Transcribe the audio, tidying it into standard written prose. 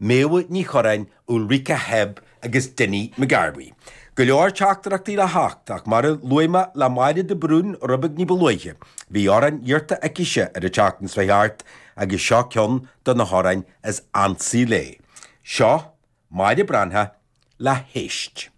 Méabha Ní Churráin, Ulrika Hebb agus Dinny McGarvey. Go leor teachtaireachtaí le theacht ach mar a luaigh mé le Máire de Brún rud beag ní ba luaithe, bhí amhrán iarrta aicise ar an tseachtain seo thart agus seo ceann de na hamhráin is ansa léi. Seo Máire Breathnach le hÉist.